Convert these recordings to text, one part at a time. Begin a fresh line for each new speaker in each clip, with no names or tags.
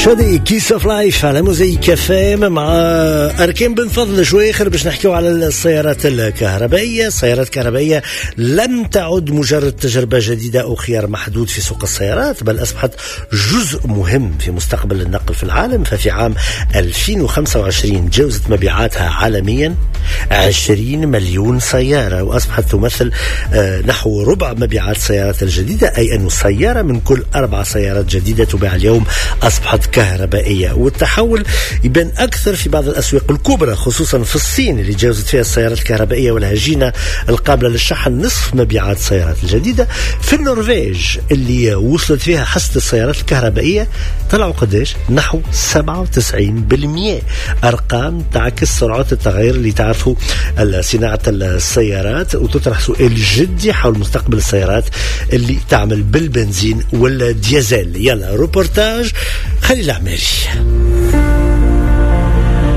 Sade، Kiss of Life على موزايك FM مع اركان بن فضل شويخر باش نحكيو على السيارات الكهربائيه. السيارات الكهربائية لم تعد مجرد تجربه جديدة او خيار محدود في سوق السيارات، بل اصبحت جزء مهم في مستقبل النقل في العالم. ففي عام 2025 تجاوزت مبيعاتها عالميا 20 مليون سياره، واصبحت تمثل نحو ربع مبيعات السيارات الجديده، اي أن سيارة من كل 4 سيارات جديدة تباع اليوم اصبحت كهربائيه. والتحول يبان اكثر في بعض الاسواق الكبرى، خصوصا في الصين اللي تجاوزت فيها السيارات الكهربائية والهجينه القابلة للشحن نصف مبيعات السيارات الجديده. في النرويج اللي وصلت فيها حصة السيارات الكهربائية طلعوا قداش؟ نحو 97%. ارقام تعكس سرعة التغير اللي تعرفوا صناعة السيارات، وتطرح سؤال جدي حول مستقبل السيارات اللي تعمل بالبنزين والديزل. يلا روبورتاج خليل العماري.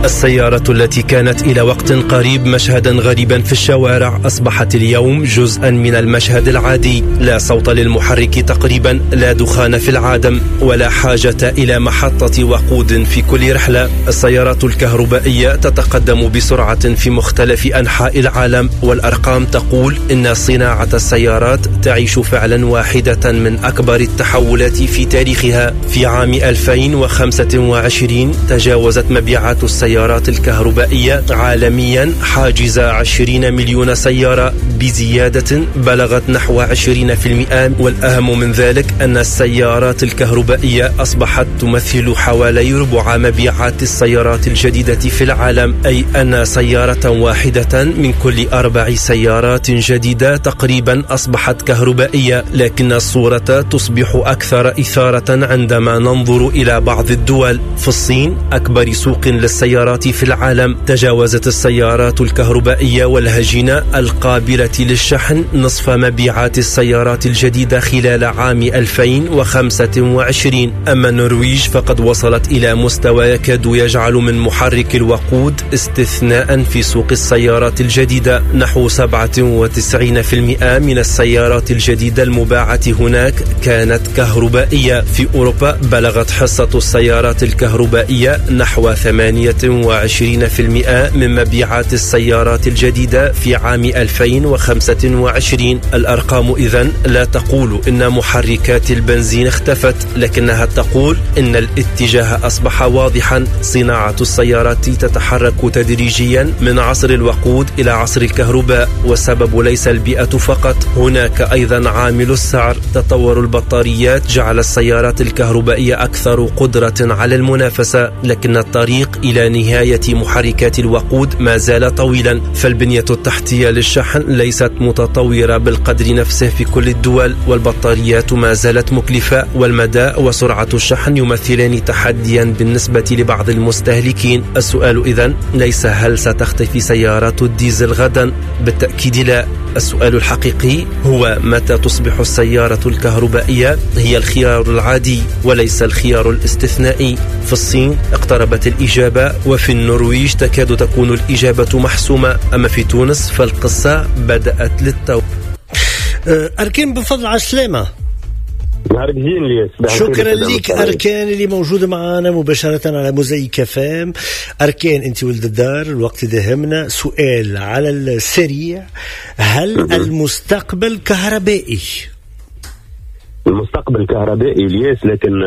السيارة التي كانت إلى وقت قريب مشهدا غريبا في الشوارع أصبحت اليوم جزءا من المشهد العادي. لا صوت للمحرك تقريبا، لا دخان في العادم، ولا حاجة إلى محطة وقود في كل رحلة. السيارات الكهربائية تتقدم بسرعة في مختلف أنحاء العالم، والأرقام تقول إن صناعة السيارات تعيش فعلا واحدة من أكبر التحولات في تاريخها. في عام 2025 تجاوزت مبيعات السيارات الكهربائية عالميا حاجز 20 مليون سيارة بزيادة بلغت نحو 20%. والأهم من ذلك أن السيارات الكهربائية أصبحت تمثل حوالي ربع مبيعات السيارات الجديدة في العالم، أي أن سيارة واحدة من كل 4 سيارات جديدة تقريبا أصبحت كهربائية. لكن الصورة تصبح أكثر إثارة عندما ننظر إلى بعض الدول. في الصين، أكبر سوق للسيارات في العالم، تجاوزت السيارات الكهربائية والهجينة القابلة للشحن نصف مبيعات السيارات الجديدة خلال عام 2025. أما النرويج فقد وصلت إلى مستوى يكاد يجعل من محرك الوقود استثناء في سوق السيارات الجديدة. نحو 97% من السيارات الجديدة المباعة هناك كانت كهربائية. في أوروبا بلغت حصة السيارات الكهربائية نحو 28% من مبيعات السيارات الجديدة في عام 2025. الأرقام إذن لا تقول إن محركات البنزين اختفت، لكنها تقول إن الاتجاه أصبح واضحا. صناعة السيارات تتحرك تدريجيا من عصر الوقود إلى عصر الكهرباء، والسبب ليس البيئة فقط، هناك أيضا عامل السعر. تطور البطاريات جعل السيارات الكهربائية أكثر قدرة على المنافسة، لكن الطريق إلى نهاية محركات الوقود ما زال طويلا، فالبنية التحتية للشحن ليست متطورة بالقدر نفسه في كل الدول، والبطاريات ما زالت مكلفة، والمدى وسرعة الشحن يمثلان تحديا بالنسبة لبعض المستهلكين. السؤال إذن ليس هل ستختفي سيارات الديزل غدا، بالتأكيد لا. السؤال الحقيقي هو متى تصبح السيارة الكهربائية هي الخيار العادي وليس الخيار الاستثنائي. في الصين اقتربت الإجابة، وفي النرويج تكاد تكون الإجابة محسومة، أما في تونس فالقصة بدأت للتو.
أركان بن فضل، على السلامة.
نهارك زين لياس.
شكرا لك أركان اللي موجود معنا مباشرة على موزايك FM. أركان، أنت ولد الدار، الوقت داهمنا. سؤال على السريع، هل المستقبل كهربائي؟
المستقبل كهربائي الياس، لكن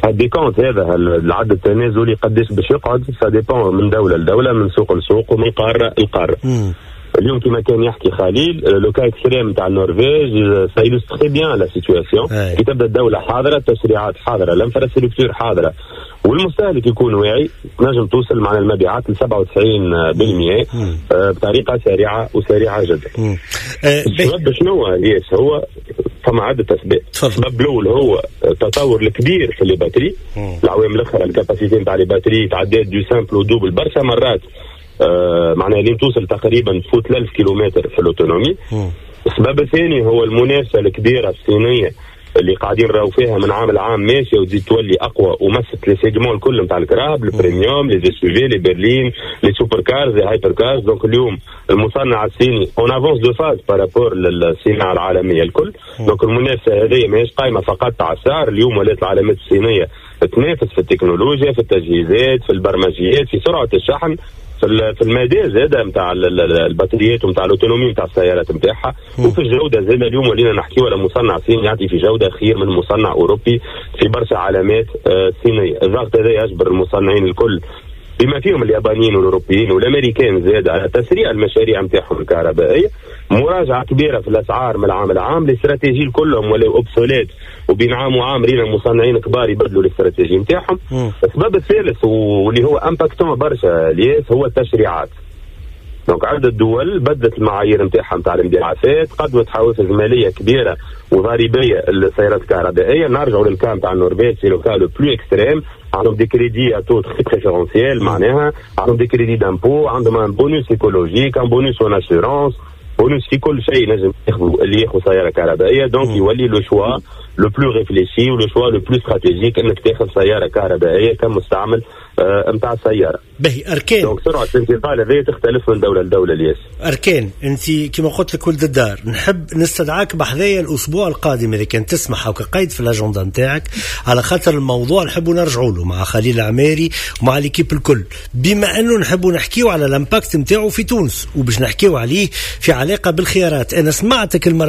ال décompte هذا العد التنازلي قداش باش يقعد ça dépend من دولة لدولة، من سوق لسوق، ومن قارة لقاره. اليوم كما كان يحكي خليل، le cas extrême تاع النرويج ça illustre très bien la situation. كي تبدا الدولة حاضره، التشريعات حاضره، l'infrastructure حاضره، والمستهلك يكون واعي، تنجم توصل معنا المبيعات ل 97% بطريقة سريعة وسريعة جدا. السبب شنو هو الياس؟ هو فما عده اسباب. السبب الاول هو التطور الكبير في les batteries. العوام الاخرى ال capacité نتاع les batteries تعدات du simple au double برشا مرات، معناها لين توصل تقريبا تفوت 1000 كيلومتر في l'autonomie. السبب الثاني هو المنافسة الكبيرة الصينية اللي قاعدين نراو فيها من عام لعام ماشية وتزيد تولي اقوى، ومست les segments الكل نتاع الكراهب، ال premium، les SUV، les berlines، les supercars، les hypercars. donc اليوم المصنع الصيني en avance de phase par rapport للصناعة العالمية الكل. donc المنافسة هذه ماهيش قايمة فقط على السعر، اليوم ولات العلامات الصينية تنافس في التكنولوجيا، في التجهيزات، في البرمجيات، في سرعة الشحن، في المدى زاده نتاع البطاريات ونتاع l'autonomie نتاع السيارات نتاعها، وفي الجودة زاده. اليوم ولينا نحكيو على مصنع صيني يعطي في جوده خير من مصنع اوروبي في برشا علامات صينيه. الضغط هذا يجبر المصنعين الكل، بما فيهم اليابانيين والاوروبيين والامريكان زاد، على تسريع المشاريع نتاعهم الكهربائيه، مراجعه كبيرة في الاسعار من العام لعام. les stratégies كلهم ولاو obsolètes، وبين عام وعام رينا مصنعين كبار يبدلوا الاستراتيجي نتاعهم. السبب الثالث، واللي هو impactant برشا الياس، هو التشريعات. donc عدة دول بدلت المعايير نتاعها نتاع الانبعاثات، قدمت حوافز ماليه كبيرة وضريبيه للسيارات الكهربائيه. نرجعوا لل cas نتاع النرويج، c'est le cas le plus extrême. عندهم des crédits à taux très préférentiel، معناها عندهم des crédits d'impôt، عندهم un bonus écologique، un bonus en assurance، bonus في كل شيء نجم ياخذ اللي ياخذ سيارة كهربائيه. donc يولي le choix le plus réfléchi و le choix le plus stratégique انك تاخذ سيارة كهربائية كمستعمل نتاع السياره.
باهي اركان.
donc سرعة الانتقال هذه تختلف من دولة لدولة الياس.
اركان، انت كما قلت لك ولد الدار، نحب نستدعاك بحذايا الاسبوع القادم اذا كان تسمح او قيد في l'agenda نتاعك، على خاطر الموضوع نحبوا نرجعوا له مع خليل العماري ومع l'équipe الكل، بما انه نحبوا نحكيو على l'impact نتاعو في تونس وباش نحكيو عليه في علاقة بالخيارات. انا سمعتك المرة